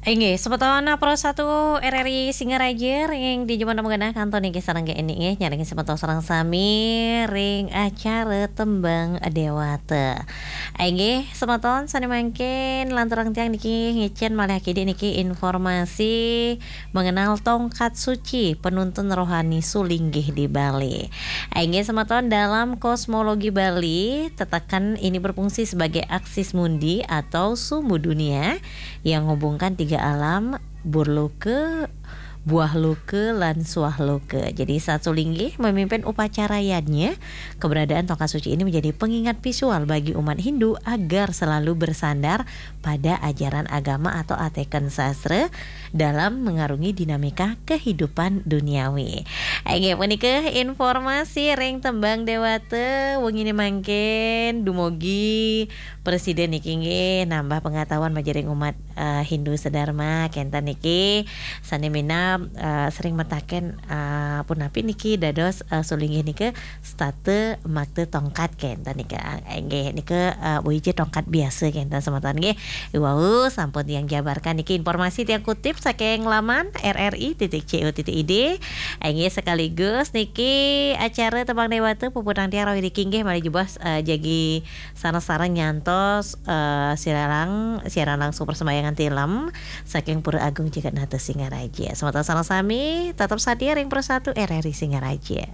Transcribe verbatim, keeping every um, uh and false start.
Inggih, semeton Pro satu R R I Singaraja ring di jaman manggenah kantos niki sareng G N I nggih, nyaring semeton sareng sami ring acara Tembang Dewata. Inggih, semeton sane mangkin lanturang tiang niki ngicen malih akidik niki informasi mengenal tongkat suci penuntun rohani sulinggih di Bali. Inggih, semeton, dalam kosmologi Bali, tetakan ini berfungsi sebagai aksis mundi atau sumbu dunia yang menghubungkan tiga alam, burloka, buahloka, lan suahloka. Jadi, saat sulinggih memimpin upacara yadnya, keberadaan tongkat suci ini menjadi pengingat visual bagi umat Hindu agar selalu bersandar pada ajaran agama atau ateken sastra dalam mengarungi dinamika kehidupan duniawi. Inggih, punika informasi ring Tembang Dewata wengine mangkin. Dumugi prasida niki nggih nambah pengetahuan majeng ring umat, eh, Hindu sedharma kenten niki sane minab, eh, sering mataken, eh, punapi niki dados, eh, sulinggih nika setata makta tongkat kenten nika. Inggih, nika, eh, boya ja tongkat biasa kenten semeton nggih. Wau sampun tiang jabarkan niki informasi tiang kutip saking laman R R I titik C O titik I D. Inggih, sekaligus niki acara Tembang Dewata puputang tiang rawuh niki nggih malih jebos, eh, jagi sareng-sareng nyantos, eh, siaran, siaran langsung persembahyangan tilem saking Pura Agung Jagatnata Singaraja. Semeton sareng sami tetep satia ring Pro satu R R I Singaraja.